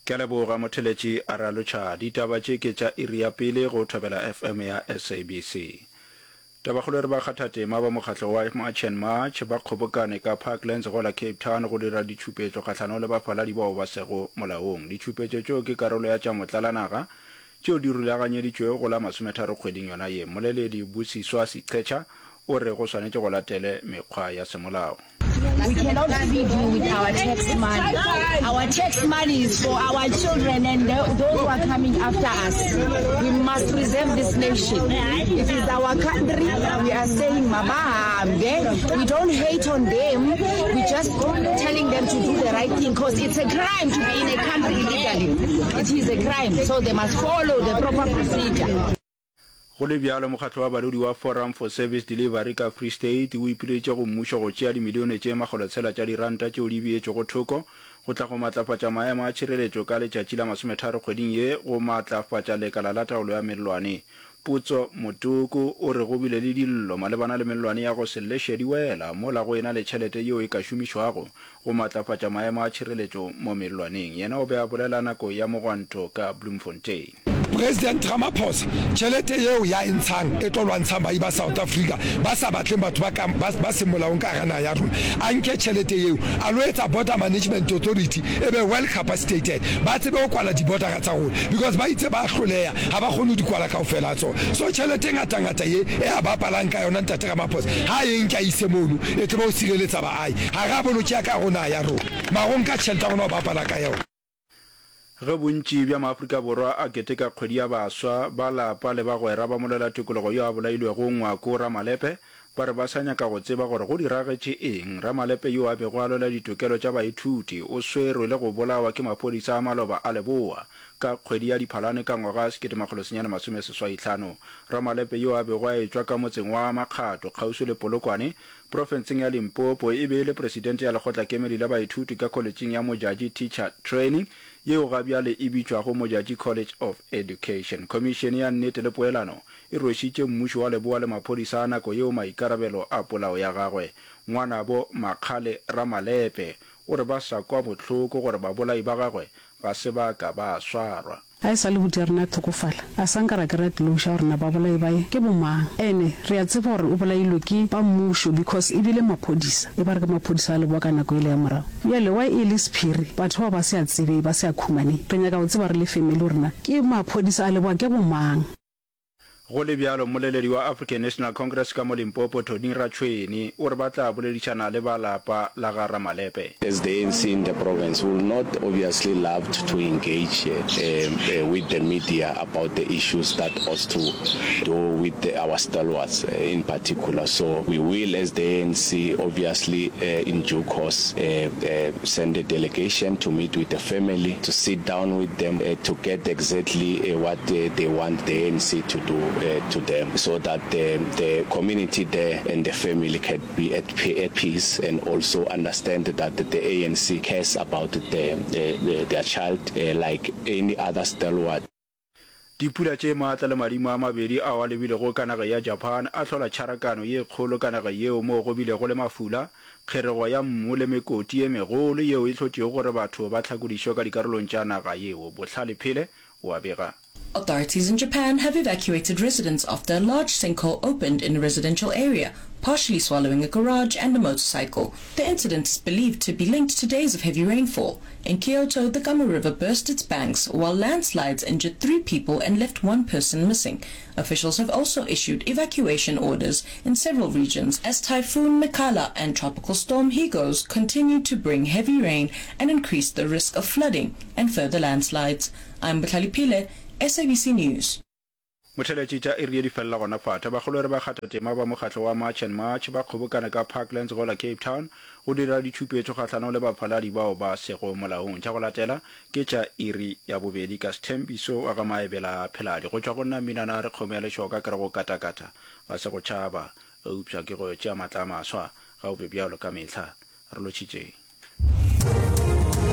Ke a leboga motheletši a ralotšha. Ditaba tše ke tša iri ya pele go Thobela FM ya SABC. Tabakgolo e re bakgathatema ba mokgatlo wa March and March ba kgobokane ka Parklands gola Cape Town go dira ditšhupetšo kgahlanong le bafaladi bao ba sego molaong. Ditšhupetšo tšeo ke karolo ya tša motlalanaga tšeo di rulaganyeditšwego go la masometharo kgweding yona ye. Mmoleledi Busiswa Siqetsha o re go swanetše go latelwe mekgwa ya semolao. We cannot feed you with our tax money. Our tax money is for our children and those who are coming after us. We must preserve this nation. It is our country. We are saying mabahambe. We don't hate on them. We just telling them to do the right thing because it's a crime to be in a country illegally. It is a crime. So they must follow the proper procedure. Go le bjalo, mokgatlo wa badudi wa Forum for Service Delivery ka Free State o ipileditše go mmušo go tšea dimilione tše makgolotshela tša diranta tšeo di beetšwego thoko go tla go matlafatša maemo a tšhireletšo ka letšatši la masometharo kgweding ye go matlafatša lekala la taolo ya mellwane. Potso Motoko o re go bile le dillo malebana le mellwane ya go se leše di wela mola go ena le tšhelete yeo e ka šomišwago go matlafatša maemo a tšhireletšo mo mellwaneng. Yena o be a bolela nako ya mogwanto ka Bloemfontein. President Ramaphosa, tšhelete yeo ya e ntshang e tlo lwantshang baahi ba South Africa ba sa batleng batho ba ka ba ba seng molaong ka hara naha ya rona. A nke tšhelete yeo a lo etsa Border Management Authority e be well capacitated, ba tsebe ho kwala di-bordera tsa rona because ba itse ba hloleha ga ba kgone ho di kwala kaofela ha tsona. So tšhelete e ngata-ngata ye e a bapalang ka yona Ntate Ramaphosa ha a e nke a ise mono e tsebe ho sireletsa baahi. Ga re a bolokea ka hare ho naha ya rona mara o nka tšhelete ya rona o bapala ka yona. Ge bontši bja maAfrika Borwa a keteka kgwedi ya baswa, ba lapa le bagwera ba molwela-tokologo yo a bolailwego Ngwako Ramalepe ba re ba sa nyaka go tseba gore go diragetše eng. Ramalepe yo a bego a lwela ditokelo tša baithuti o swerwe le go bolawa ke maphodisa a maloba a Leboa ka kgwedi ya Diphalane ka ngwaga 1985. Ramalepe yo a bego a etšwa ka motseng wa Makgato kgauswi le Polokwane Profenseng ya Limpopo, e be e le presidente ya lekgotlakemedi la baithuti ka kholetšing ya Modjadji Teacher Training, yeo ga bjale e bitšwago Modjadji College of Education. Khomišene ya Nnete le Poelano e rwešitše mmušo wa Leboa le maphodisa a nako yeo maikarabelo a polao ya gagwe. Ngwanabo Makgale Ramalepe o re ba sa kwa bohloko gore babolai ba gagwe ga se ba ka ba swarwa. Ga e sa le buti ya rena a hlokofala, a sa nka ra kry-a closure gore na babolai ba ye ke bo mang. Ene re a tseba gore o bolailwe ke ba mmušo because e bile maphodisa, e ba re ke maphodisa a leboa ka nako yela ya morago. Bjale why e le sephiri, batho bao ba se a tsebe, ba se a khumane. Re nyaka go tseba re le family gore na ke maphodisa a leboa ke bo mang. Go le bjalo, mmoleledi wa African National Congress ka mo Limpopo, Tony Ratšhweni, o re ba tla boledišana le ba lapa la ga Ramalepe. As the ANC in the province, we will not obviously love to engage with the media about the issues that ought to do with our stalwarts in particular. So we will, as the ANC, obviously in due course send a delegation to meet with the family, to sit down with them to get exactly what they want the ANC to do to them, so that the, the community there and the family can be at, at peace and also understand that the ANC cares about the, the, their child like any other stalwart. Dipula tše matla le madimo a mabedi ao a lebilego ka naga ya Japan a hlola tšharakano ye kgolo ka naga yeo moo go bilego le mafula, kgerego ya mmu le mekoti ye megolo yeo e hlotšego gore batho ba hlakodišwe ka dikarolong tša naga yeo. Bohlale Phele o a bega. Authorities in Japan have evacuated residents after a large sinkhole opened in a residential area, partially swallowing a garage and a motorcycle. The incident is believed to be linked to days of heavy rainfall. In Kyoto, the Gama River burst its banks while landslides injured three people and left one person missing. Officials have also issued evacuation orders in several regions as Typhoon Mikala and Tropical Storm Higos continue to bring heavy rain and increase the risk of flooding and further landslides. I'm Botlhale Phile, SABC News. Motheletši tša iri ye di felela gona fa. Tabakgolo e re bakgathatema ba mokgatlo wa March and March ba kgobokane ka Parklands gola Cape Town go dira ditšhupetšo kgahlanong le bafaladi bao ba sego molaong. Tša go latela ke tša iri ya bobedi ka Sthembiso wa ga Maebela Pheladi. Go tšwa go nna Mminana a re kgomo ya lešoka ke re go katakata ga se go tšhaba eupša ke go tšea matla a maswa. Ga o be bjalo ka mehla. Re lotšhitšeng.